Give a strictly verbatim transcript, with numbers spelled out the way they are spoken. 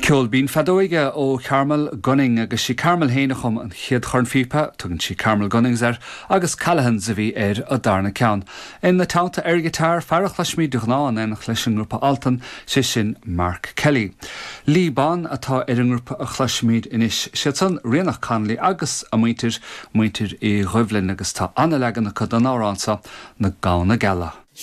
Ceol binn feadóige ó Carmel Gunning agus sí Carmel féin a chum an chéad chornphíopa, tugann sí Carmel Gunnings air agus Callahan's a bhí ar an darna ceann. Ina teannta ar ghiotár fear a chloisimid de ghnáth in éineacht leis an ngrúpa Altan sé sin Mark Kelly. Lee Bon atá ar an ngrúpa a chloisimid anois siad san Ríonach Connolly agus a muintir muintir Uí Dhoibhlin agus tá an-leagan acu den amhrán seo na Gamhna Geala.